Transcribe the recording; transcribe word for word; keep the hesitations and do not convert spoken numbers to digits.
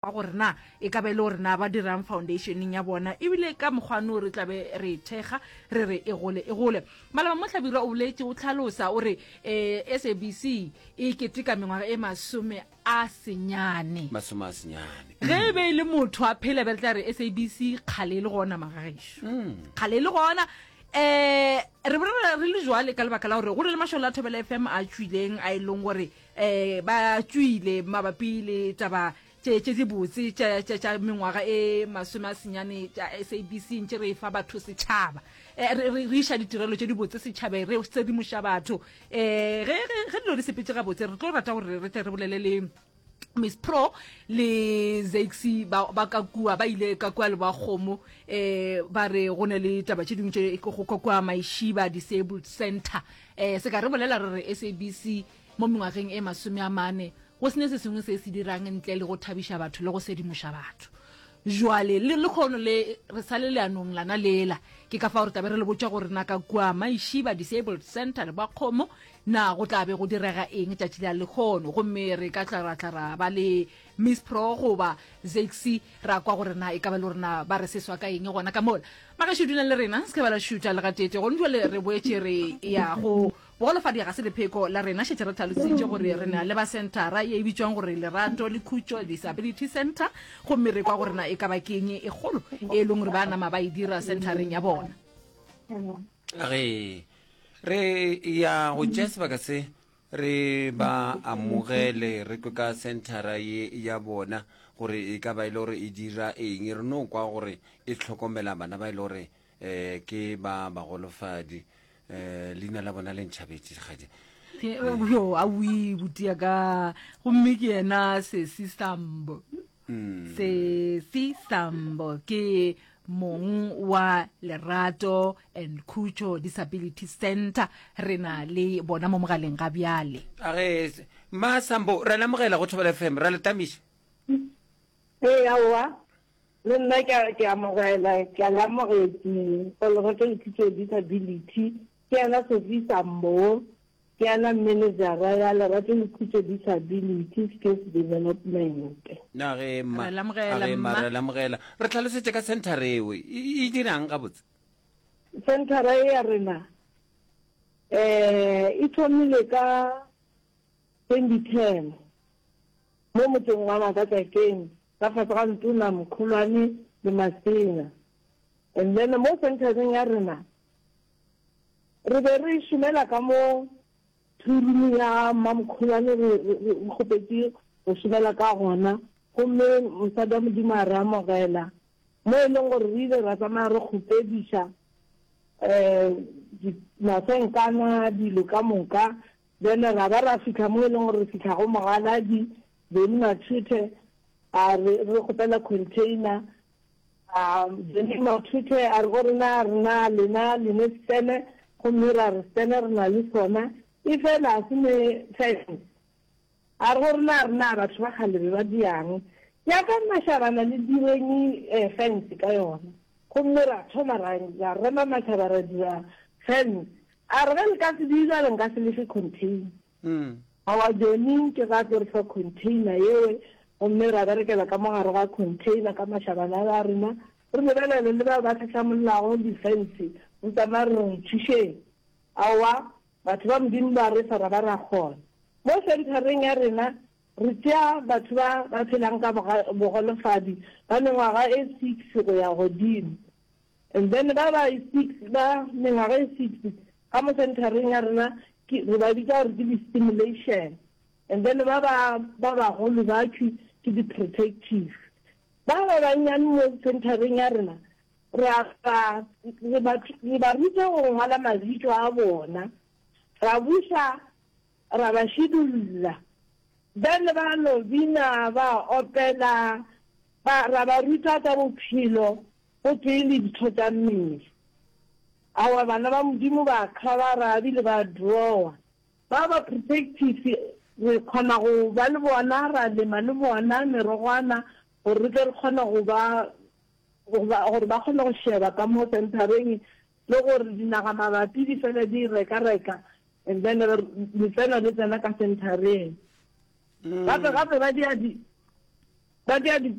Gore na e ka ba e le gore na ba dirang foundationeng ya bona, ebile ka mokgwano re tlabe re e thekga re re e gole e gole. Malaba mo Hlabirwa o boletše o hlalosa o re um S A B C e keteka mengwaga e masome a senyane. Masome a senyane. Ge e be e le motho a phela, be re tla re S A B C kgale e le gona, magagešo, kgale e le gona. um re bolela re le jwale ka lebaka la gore go na le mašole a Thobela F M a tšwileng, a e leng gore um ba tšwile mabapi le taba tše tše dibotse tša tša tša mengwaga e masome a senyane tša S A B C, ntše re fa batho setšhaba, eh, re re iša ditirelo tše dibotse setšhabeng, re sedimoša batho. um ge ge ge dilo di sepetse gabotse, re tlo rata gore re tle re bolele le Miss Pro le Zaxi ba ba ka kua, ba ile ka kua le ba kgomo, um ba re go ne le taba tše dingwe tše go ka kua Maishiba Disabled Center. um se ka re bolela re re S A B C mo mengwageng e masome a mane go sene se sengwe se se dirang ntle le go thabiša batho le go sedimoša batho. Jwale le lekgono le re sa le leanong lana lela, ke ka fa gore tabe re le botša gore na ka kua Maishiba Disabled Center le ba kgomo na go tla be go direga eng tšatši la lekgono, gomme re ka tla ra tla ra ba le Miss Pro goba Zaxi, ra kwa gore na e ka ba le gore na ba re seswa ka eng gona ka mola. Magašo, dulang le rena, se ka ba la šuta le gatete. Gone jwale re boetše re ya go bogolofadi ga se lepheko la rena. Šetše re tlhalositše gore re na le ba centera ye e bitswang gore Lerato le Khutšo Disability Center, gomme re kwa gore na e ka ba keng e kgolo e leng gore ba nama ba e dira centereng ya bona. Re re ya go tšea sebaka se re ba amogele, re kwe ka centera ye ya bona gore e ka ba e le gore e dira eng. Re no kwa gore e hlokomela bana ba e le gore um ke ba bagolofadi. um leina la bona le ntšhabetše gadi. Yo awi botia ka gomme ke yena Sesi Sambo. Mm. Sesi Sambo ke mong wa Lerato and Khutšo Disability Center. Re na le bona mo mogaleng ga bjale. A ge ma Sambo, ra lemogela go Thobela F M, ra le tamiša. Ee, aowa, le nna ke a ke amogela, ke a le amogetše go Lerato le Khutšo Disability. Ke yena Sophie Sambo, ke yena managera ya Lerato le Khutšo Disability Skills Development. Na ge ma Re lamogela, a ge ma mma. Re lamogela. Re tlhalosetše ka center eo, e e dirang gabotse? Centera e ya rena eh e thomile ka twenty ten mo motseng wa Makatsakeng, ka fase ga Ntona Mokgolwane le Masenya. And then mo centereng ya rena re be re šomela ka mo two-room ya Mamokgolwane, re re kgopetše go šomela ka gona, gomme mosadi wa Modimo a re amogela, mo e leng gore re ile ra tsamaya re kgopediša um masenkana, dilo ka moka. Then ra ba ra fitlha mo e leng gore re fitlha go mogaladi Beny Mathuthe, a re re kgopela container. A Beny Mathuthe a re go rena, rena lena lene stene, gomme ra re stene re na le sona, e fela a se ne fence. A re go rena, rena batho ba kgale be ba diang yaka mašabana le direng um fence ka yona, gomme ra thoma ra ra rema mašaba, ra dira fence. A re ge le ka se dira, le nka se lefe container. Mm. Awa, Johnny ke ga tlo re fa container yewe, gomme ra berekela ka mogare ga container ka mašabana a rena, re lebelele le bao ba tlhatlhamollago di-fence, re tsamaya re re thušeng. Aowa, batho ba Modimo ba re fa, ra ba ra kgona. Mo centereng ya rena re tšea batho ba ba phelang ka bogolofadi ba mengwaga e six go ya godimo. And then ba ba e six, ba mengwaga e six ka mo centereng ya rena ke re ba bitsa gore ke di-stimulation, and then ba ba ba bagolo ba thwe ke di-protective. Ba ba bannyane mo centereng ya rena re a ba re ba re ba ruta go ngwala mabitso a bona, ra buša ra ba šidulla, then ba no bina, ba opela, ba ra ba ruta tsa bophelo go tee le ditho tša mmele. Awa, bana ba Modimo ba cover ebile ba drawa. Ba ba protective re kgona go ba le bona, ra lema le bona merogwana gore re tle re kgone go ba gore ba kgone go sheba ka mo centereng, le gore dinaga mabapi di fele di reka-reka, and then letseno le tsena ka centereng. Gape gape ba dia di Ba tšea di